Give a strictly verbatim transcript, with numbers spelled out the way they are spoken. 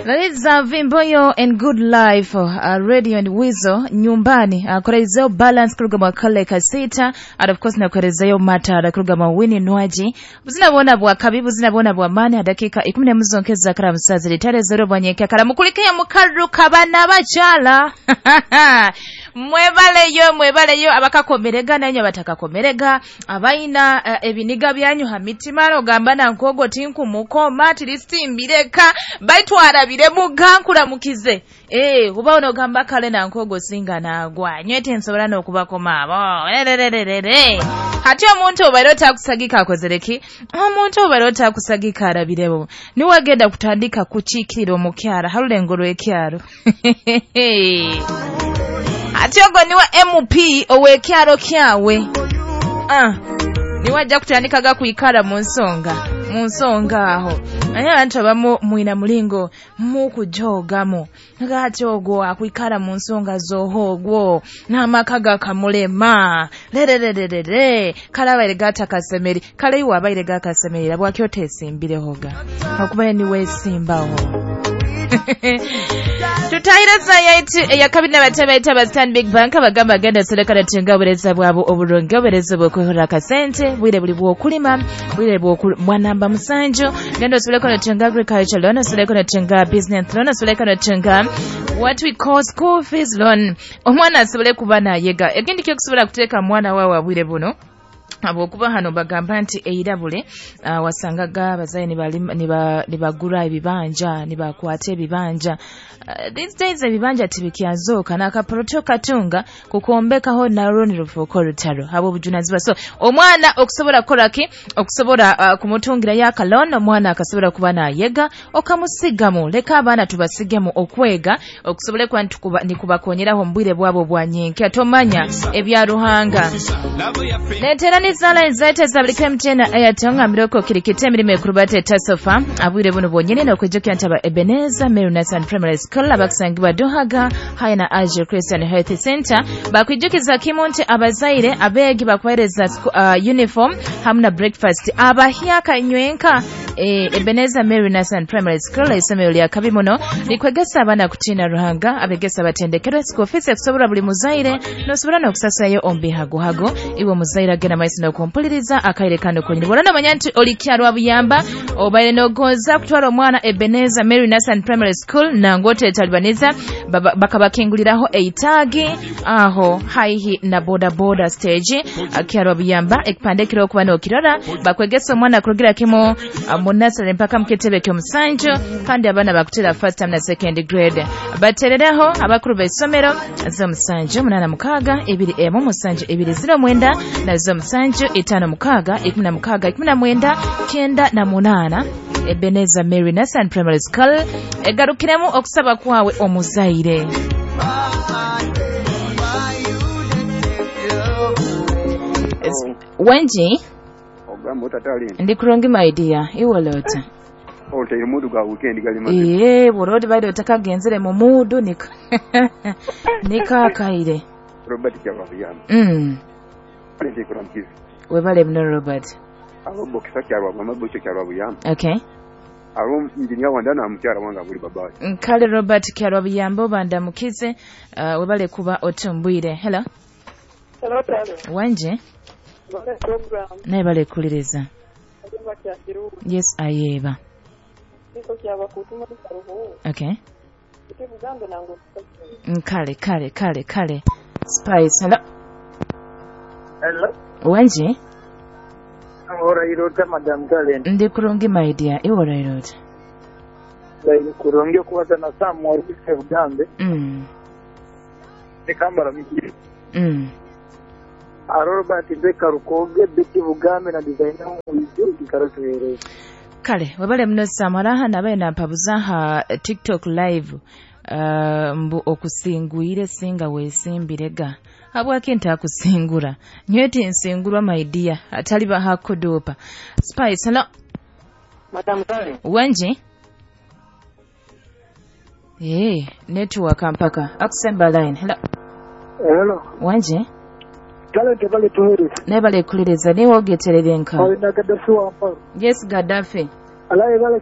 Laliza Vimboyo and Good Life uh, Radio and Wizo nyumbani uh, kurezeyo balance kuruga mwakale kasita and of course na kurezeyo matara kuruga mawini nwaji buzina bona bwa kabi buzina bona bwa mani dakika ikumi na muzonkeza kara musazi litare zero bwanyeke kara mukulike mukaruka bana bachala mwebaleyo mwebaleyo abakakomerega nanyo abatakakomerega abaina uh, ebiniga byanyu hamitima ogamba nankogo tinkumukoma tilisimbireka baitwarabire mugankura mukize eh uba onogamba kale nankogo singa nagwa nywete nsobora nokubakoma abo erererere hati omuntu obaire otakusagika akozereki omuntu obaire otakusagika arabirebo niwagenda kutandika kuchikirira omukyara harulengo rw'ekyaro ati ogo niwe M P owekyaro kyawe ah niwajja kutandika kuikara mu nsonga mu nsonga aho naye abantu abamu mwina mulingo mukujogamu ngati ogwo akuikara mu nsonga zohogwo n'amaka gakamulema lerererere kale abaire gatakasemeri kale iwe abaire gakasemerera bwaki otesimbirehoga okubaire niwesimbaho tutahira sayati yakabina batebe taba Stanbic Bank abagamba genda selekana tenga obureeza bwabo obulungi obureeza bw'okwehora akasente bwire buli bw'okulima bwire bwa namba musanju genda oselekana tenga agriculture loan oselekana tenga business loan oselekana tenga what we call school fees loan omwana asobole kuba nayega ekindi kyokusobola kuteeka mwana wawe abwire buno abokuba hano bagamba nti eirabule uh, wasangaga abazaire nibagura ebibanja nibakwata ebibanja uh, these days ebibanja tibikyazoka n'akaporoto katunga kukombekaho narwo nirufuuka orutaro abo obujunazibwa so omwana okusobola kukoraki okusobola uh, kumutungira y'akaloon omwana akasobola kuba nayega okamusigamu leka abaana tubasigemu okwega okusobole kuba nikubakonyeraho mu bwire bwabo bwa nyenkya tomanya ebya Ruhanga netera nizala nzaita za buli M T N Airtel ngambireko kirikite emirimo ekurubate tasofa abwire buno bwonyene n'okwijukira nti aba Ebenezer Mary Nathan Primary School abakusangibwa Duhaga haya na Azure Christian Health Center bakwijukiza kimu nti abazaire abeegi bakuweereza uh, uniform hamu na breakfast abahyaka nywenka e, Ebenezer Mary Nathan Primary School isomero lya kabi muno likwegesa abaana kutiina Ruhanga abegesa batendekerwe school fees ekusobola buli muzaire n'osobola n'okusasayo ombihagohago iwe muzaire agenda maiso n'okumpuliriza akaire kano konyini bw'olona omanya nti olikyalwa buyamba obaire n'ogonza kutwala omwana Ebenezer Mary Nathan Primary School nangote etalibaniza bakabakinguliraho eitaagi aho haihi na boda boda stage akyalwa buyamba ekipande kiro okuba n'okirora bakwegesa omwana kurugira kimu mu nursery mpaka mukitebe ky'omusanju kandi abaana bakutera first term na second grade baterereho abakuru b'essomero z'omusanju munana mukaaga ebiri emu musanju ebiri ziro mwenda na z'omusanju itaano mukaaga ikumi na mukaaga ikumi na mwenda kenda na munaana Ebenezer Mary Nathan Primary School egarukiremu okusaba kwawe omuzaire wenji ndi kurungi my dear iwolota oteire mudu gwa weekend gali mazi eh borodi baide otakagenzere mu mudu nika nikakaire Robert kyababiyamba mm ndi kuramkizi webale mno Robert abo bokisa kyarwa mama bocho kyarwa buyamba okay abo engineer wandana mukyara wanga buli babayi nkale Robert kyarwa buyamba obanda mukize uh, webale kuba otumbwire hello hello talo wanje naye bale kuliriza yes ayeba okay nkale kale kale kale spice hello hello wanje ora irota madam Talent ndi kurungi my dear iwora irota ndi kurungi kubaza na Samuel Bugambe mm nikambara miki mm Robert Beka Rukoge Betty Bugambe na designer w'ibyo kikarotuhereza kale webale muno Samaraha nabaye nampabuza ha TikTok live uh, mbu okusingwire singa wesimbirega habwaki ntakusingura nywete nsingurwa my dear atali bahakudupa spice hello madam Kale wenji eh network mpaka akusemba line hello hello wenji Talent bale tuhereza nebale kuliriza niwo ogeterere nka na Gaddafi wa yes Gaddafi alaye bale